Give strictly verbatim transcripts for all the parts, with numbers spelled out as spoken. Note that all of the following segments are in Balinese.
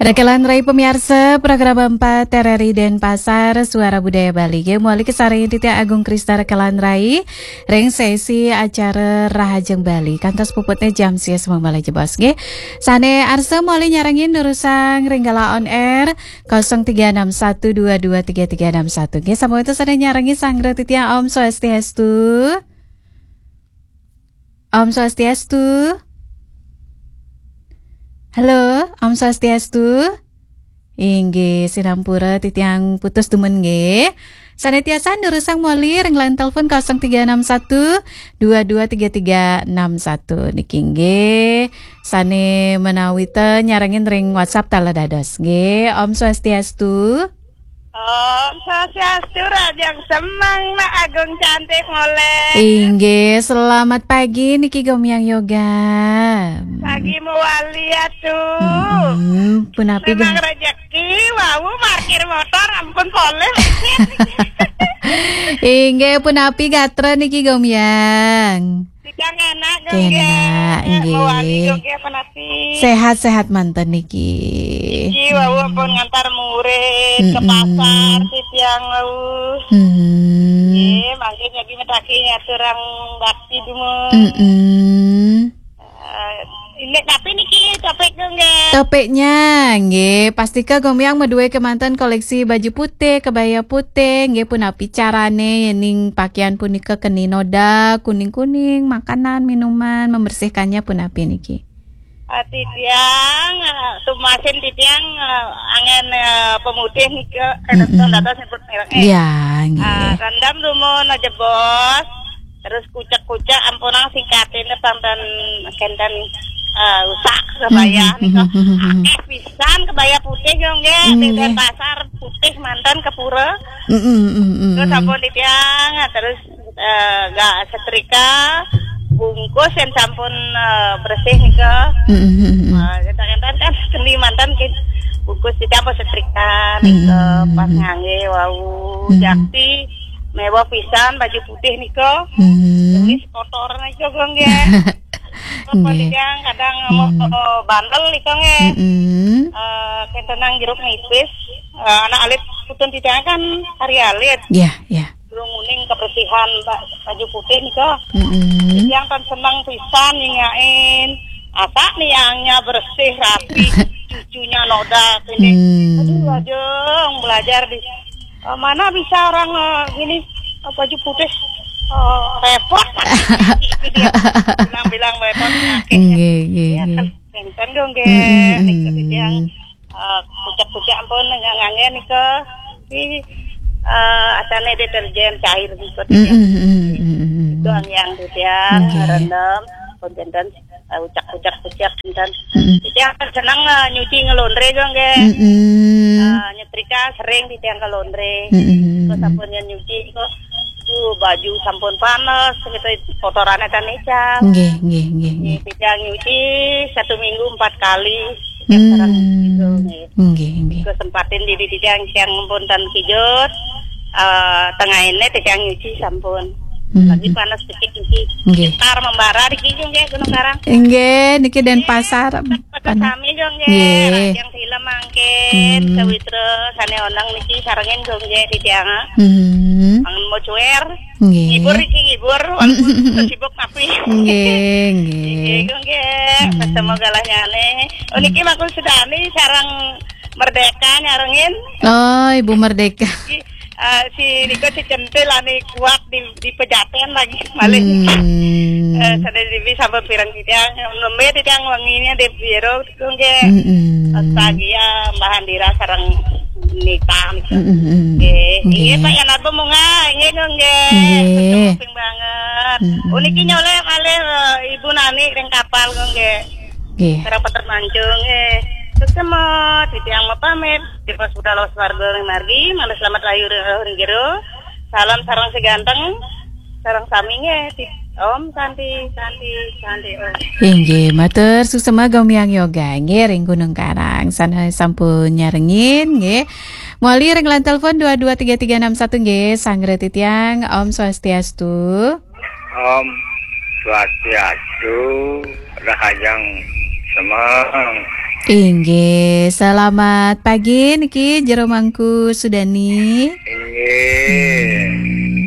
Rekelan Rai pamiarsa, program empat R R I Denpasar, Suara Budaya Bali. Nggih, mawali kasarengin titiang Agung Krista Rekelan Rai ring sesi acara Rahajeng Bali. Kantos puputne jam sia semeng malih jebos, nggih. Sane arsa mawali nyarengin durusang ring galah on air kosong tiga enam satu dua dua tiga tiga enam satu. Nggih, sampun sane nyarengin sareng titiang. Om Swastiastu. Om Swastiastu. Halo, Om Swastiastu. Inggih, sinampura titiang putus dumun nggih. Sane tiasan durusang mawali ring line telepon kosong tiga enam satu dua dua tiga tiga enam satu niki nggih. Sane menawi ta nyarengin ring WhatsApp taler dados nggih. Om Swastiastu. Om Swastiastu, rahajeng semeng, Mak Agung cantik moleh. Inggih, selamat pagi niki Gomyang Yoga. Pagi mawali atu. Mm-mm, punapi memang ga- rejeki, wau markir motor ampun polih. Inggih, punapi gatra niki Gomyang? Titiang enak, Gong, nggih. Enak, nggih. Mawali, Gong, nggih, punapi? Sehat-sehat manten niki. Niki wau ampun ngantar murid ke Mm-mm. pasar, titiang wau. Mm-mm. Nggih, mangkin lagi medaki ngaturang bakti dumun. Mm-mm. Eh, ini tapi niki topik, Gong, nggih. Topiknya, nggih, pastika Gomyang madue kemanten koleksi baju putih, kebaya putih, nggih, punapi carane yening pakaian punika keni noda, kuning-kuning, makanan, minuman, membersihkannya punapi niki? Ah, titiang, eh, tumasin titiang, eh, angen, eh, pemutih nika, kada Mm-mm. tahu dados nyebut merek, eh. Iya, nggih. Ah, rendam dumun, jebos. Terus kucek-kucek, ampunang singkatin, panten kenten, eh, usak kebaya Mhm, nika. Mhm, mhm. Akeh pisan kebaya putih, Gong, nggih. Nggih. Di Denpasar putih manten ke pura. Mm, mm, mm, mm. Terus ampun titiang, terus, eh, ga setrika, bungkus yang sampun, eh, bersih nika. Mm, mm, mm, mm. Eh, kenten-kenten kan keni manten ki-, bungkus titiang ampun setrika nika, Mm, mm, pas mm, mm. ngangge wau. Mm. Jakti mewah pisan baju putih nika. Mm. Tumis kotor nika, Gong, nggih. Apa Nggih. titiang kadang Hmm. mau bandel nika nggih. Mm-mm. Eh, kenten nang jeruk nipis. Eh, anak alit putun titiang kan hari alit. Iya, iya. Durung uning kebersihan ba-, baju putih nika. Mm-mm. Titiang kan seneng pisan ningain. Asa niangnya bersih, rapi, cucunya noda, ini. Hmm. Aduh, ajeng belajar di, eh, mana bisa orang, eh, gini, eh, baju putih, eh, repot. Itu dia. Bilang-bilang repot, sakit. Nggih, nggih, Ya, nggih. kan, kan dong, nggih. Mm-mm, Nek mm-mm. Yang, eh, kucek-kucek ampun, nggak ngangge nika. Di, eh, asane deterjen cair gitu. Mm-mm, mm-mm, mm-mm. Itu yang titiang, Nggih. Rendem, konten, eh, ucak-ucak, ucak, dan Mm-mm. titiang seneng, eh, nyuci ngelondre, Gong, nggih. Mm-mm. Eh, nyetrika sering titiang ke laundry. Mm-mm. Terus sampun nyuci kok, tuh, baju sampun panas, gitu, kotorannya kan ecap. Nggih, nggih, nggih, Nggih, nggih. titiang nyuci satu minggu empat kali. Tiap Hmm. sareng gitu, nggih. Nggih, nggih. Kesempatin diri titiang, tiang pun tan kijut, eh, tengah ini titiang nyuci sampun. Hmm. Lagi panas dikit nyuci. Nggih. Sekitar membara di kijung, nggih, Gunung Karang. Nggih, niki Denpasar. Nggih, Panas. Sami, Gong, nggih. Nggih. Yang film mangkin, Hmm. Sawitra, sane onang niki sarengin, Gong, nggih, titiang. Hmm. Mangan mau cuer. Nggih. Ngibur iki ngibur, walaupun sibuk tapi. Nggih, nggih. Nggih, nggih. Hmm. Ketemu galahnyane. Oh, niki Hmm. Makul Sedani sareng Merdeka nyarengin. Oh, Ibu Merdeka. Iki, eh, si Riko si Centil ane kuat di, di Pejaten lagi malih. Hmm. Eh, sadaya dewe sampun pireng titiang, nembe titiang wenginya di biro. Nggih. Mm-mm. Bahagia, Mbah Andira sareng Nita, nggih. Mm-mm, mm. Nggih. Nggih. Nggih, Pak Yanarba Munga, nggih, nggih. Nggih. Betul, ping banget. Mm-mm. Uniki nyoleh malih, eh, Ibu Nani ring kapal, nggih. Nggih. Sareng Peter Mancung, nggih. Sukses, Mot. Titiang mapamit. Tipe sudah los warga ring margi, malih selamat layu ring, ring jero. Salam sareng si ganteng. Sareng sami nggih, di-, Om Santi, Santi, Santi, Om. Inggih, matur suksma Gomyang Yoga nggih ring Gunung Karang. Sané sampun nyarengin nggih. Mawali ring line telepon dua dua tiga tiga enam satu nggih, sanggra titiang. Om Swastiastu. Om Swastiastu, rahajeng semeng. Inggih, selamat pagi niki Jero Mangku Sudani. Inggih. Hmm.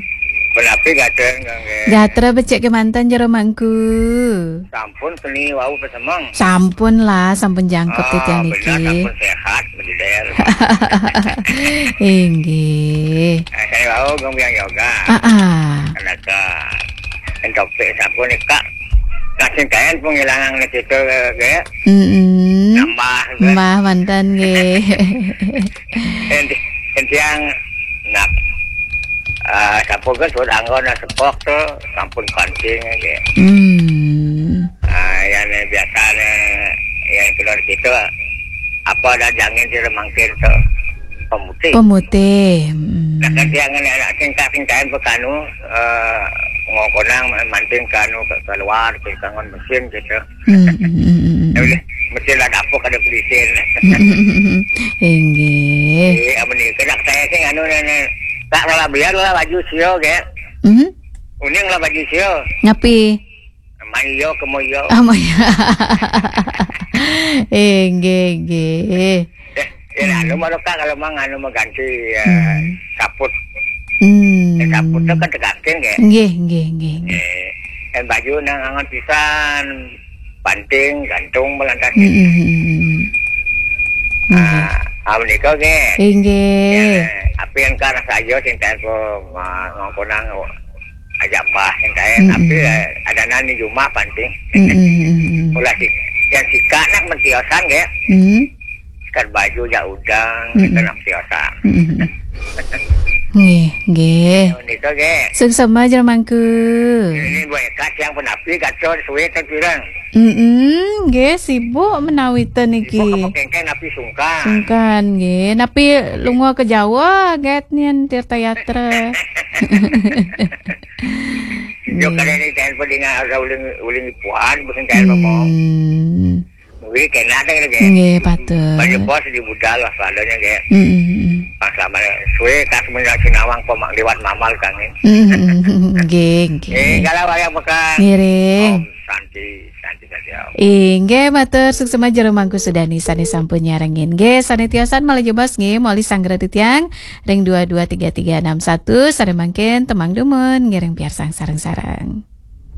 Punapi gatra nggih? Gatra becik kemanten Jero Mangku. Sampun seni wau pesemeng. Sampun lah, sampun jangkep. Ah, titiang benar, niki. Sampun sehat, bededer. Inggih. Eh, saya wau gong biang yoga. Ah, ah. Kenapa? Entopik sampun nika. Kasing kain pun ngilangan nih situ, nggih. Mm-mm. Nambah, nggih. Nambah manten, nggih. Enti-, entiang nak, ah, sampun kan sudah anggon sepok tuh, sampun kancing, nggih. Hmm. Ah, yang biasa nih, yang keluar situ, apa ada jangin sira mangkin tuh? Pemutih. Pemutih. Mm. Nah, kan tiang anak singkat-singkain pekanu, eh, ngokonang manting kanu ke keluar, ke kangon mesin gitu. Mm, mm, mm, mm, mm. Ya udah, mesin lah dapur kada belisin. Mm, mm, mm, mm. Inggih. Eh, amun ini kena saya sih anu nenek. Tak malah biar lah baju sio, ge. Mm. Uning lah baju sio. Ngapi? Mayo ke moyo. Ah, mayo. Inggih, inggih. Ya, ya, anu malu, Kak, kalau mang anu mengganti, ya, hmm, kaput. Hmm. Ya, kaput tu kan tegakin, ya. Nggih, nggih, nggih, nggih. Eh, dan baju nang angan pisan, panting, gantung, belantas. Hmm, hmm, hmm, hmm. Nggih. Ah, amun iko, nggih. Inggih. Ya, api yang kan saja sing tempo, ma-, ngomponang, ajak mbah sing kae, hmm, tapi, hmm, eh, ada nani jumah panting. Hmm, hmm, hmm, hmm. Mula si, yang sika nak mentiosan, nggih. Hmm. Sikat baju jak udang, hmm, kita nak mentiosan. Hmm. Nggih, nggih. Ini tu, nggih. Suksema Jero Mangku. Ini buat kat yang penapi kacau suwe tak pirang. Mm-mm, nggih, sibuk menawi ten niki. Sibuk apa kengkeng napi sungkan. Sungkan, nggih. Napi lunga ke Jawa, get nien Tirta Yatra. Yo, hmm, kali ini telepon dengan ada uling, uling ipuan, bukan telepon mau. Hmm. Mungkin kena ada lagi. Nggih, patut. Banyak bos di budal lah, padanya, nggih. Mm-mm. Pas lama suwe, kas menyak sinawang, pemak liwat mamal, kangin. Mm-mm. Nggih, nggih. Eh, kalau wayang pekan. Ngiring. Om Santi, Santi Santi Om. Inggih, matur suksema Jero Mangku Sudani sane sampun nyarengin. Nggih, sane tiosan malih jebos nggih, moli sanggra titiang ring dua dua tiga tiga enam satu, sare mangkin temang dumun, ngiring piarsang sareng-sareng.